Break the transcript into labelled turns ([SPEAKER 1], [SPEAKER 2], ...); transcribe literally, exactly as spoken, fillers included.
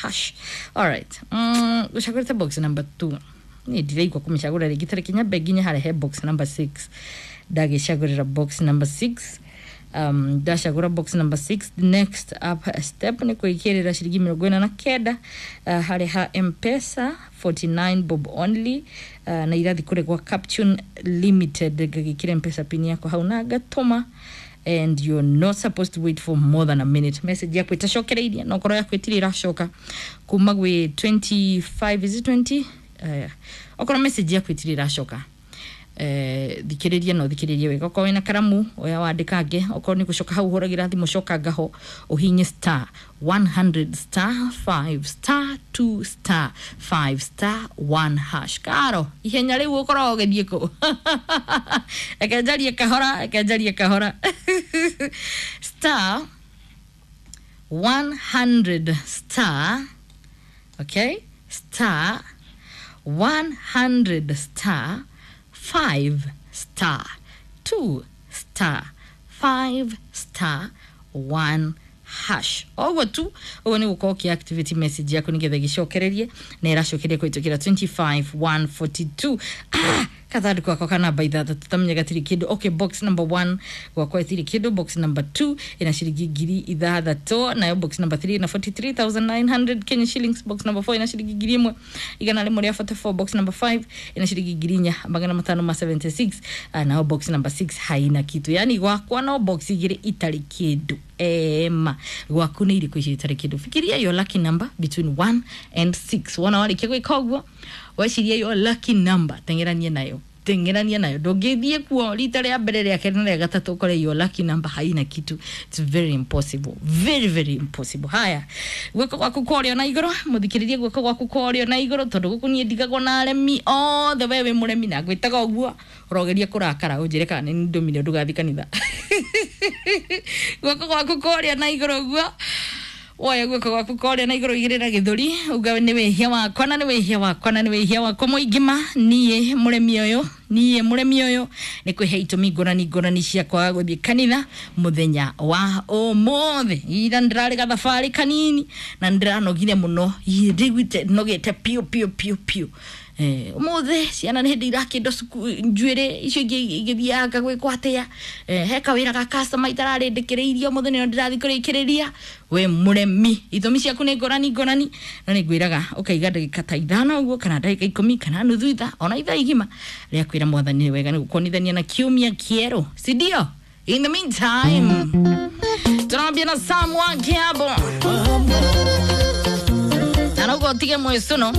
[SPEAKER 1] Hash. Alright, mm, gucagũrĩte box number two. Niĩ ndiraigua kũmĩcagũra rĩngĩ, tarĩki nyambe nginye harĩa he box number six. Ndagĩcagũrĩra box number six. um, ndacagũra box number six, next up step nĩ kwĩkĩrĩra ciringi mĩrongo ĩna na kenda uh, harĩa ha Mpesa, forty-nine bob only, uh, na irathi kũrĩ gwa Captune Limited. Ngagĩkĩra Mpesa pin yakwa hau na ngatũma, and you're not supposed to wait for more than a minute message yaku ĩtacokereirie. No korwo yaku ĩtirĩ ĩracoka kuma gwĩ twenty-five, is it twenty? uh, okorwo message yaku ĩtirĩ ĩracoka, eh, thikĩrĩria no thikĩrĩrie wega. Okorwo wĩna karamu oya wandĩkange. Okorwo nĩ gũcoka hau ũhũragĩra thimũ, coka ngaho ũhinye star one hundred star five star two star five star one hash. Karo ihenya rĩu ũkoragwo ũgĩthiĩ kũ? Reke njarie kahora, reke njarie kahora. Star one hundred star, okay, star one hundred star five star two star five star one hash. Oguo tu, ũguo nĩ gũkorwo ũkĩ activate message yaku nĩgetha ĩgĩcokererie na ĩracokeria kũhĩtũkĩra twenty-five one forty-two. Ah, kathandũkũ gakwa ka namba ithathatũ tamenya gatirĩ kĩndũ. Okay, box number one gwakwa ĩtirĩ kĩndũ. Box number two ĩna ciringi ngiri ithathatũ, nayo box number three ĩna forty-three thousand nine hundred Kenya shillings. Box number four ĩna ciringi ngiri ĩmwe igana rĩmwe rĩa forty-four. Box number five ĩna ciringi ngiri inya magana matano ma seventy-six. Ah, nayo box number six haina kitu. Yani gwakwa no box igĩrĩ itarĩ kĩndũ. Ema gwaku nĩ irĩkũ icio itarĩ kĩndũ? Fikiria your lucky number between one and six. Wona warĩkia gwĩka ũguo, weciria your lucky number, teng'eranie nayo, teng'erania nayo. Ndũngĩthiĩ kuo rita rĩa mbere, rĩa kerĩ na rĩa gatatũ ũkore your lucky number haina kitu. It's very impossible, very very impossible. Haya, guoko gwaku kũrĩa na igũrũ, mũthikĩrĩrie, guoko gwaku kũrĩa na igũrũ, tondũ gũkũ niĩ ndigagwo na aremi othe. We wĩ mũremi na ngwĩtaga ũguo, ũrogeria kũrakara ũnjĩre kana nĩ ndũmire ndũgathiĩ kanitha. Guoko gwaku kũrĩa na igũrũ ũguo, woya guoko gwaku kũrĩa na igũrũ, igĩrĩra gĩthũri, uga nĩ wĩhia wakwa na nĩ wĩhia wakwa na nĩ wĩhia wakwa mũingĩ ma. Niĩ mũremi ũyũ, niĩ mũremi ũyũ nĩ kwĩhe itũmi ngũrani ngũrani cia kwaga gũthiĩ kanitha mũthenya wa ũmũthĩ. Ira ndĩrarĩ gathabarĩ kanini na ndĩranogire mũno. Ĩ, ndiguĩte nogete piũ piũ piũ piũ. Eh, ũmũthĩ ciana nĩ hĩndĩ irakĩndwo njuĩrĩ icio ingĩ igĩthianga gwĩkwo atĩa. Eh, he kawĩra ga customer itararĩndĩkĩrĩirie, ũmũthĩ nĩo ndĩrathiĩ kũrĩkĩrĩria. We mũremi, itũmi ciaku nĩ ngũrani ngũrani, no nĩ ngwĩraga ũkaiga ndagĩka ta ithano ũguo, kana ndagĩka ikũmi, kana nuthu ithaa, ona ithaa igima rĩa kwĩra Mwathani nĩ wega nĩ gũkuonithania na kiumia kĩerũ, si ndio? In the meantime, tunaambia na Sam wa Kiabo na noguo ũtige mwĩcũno.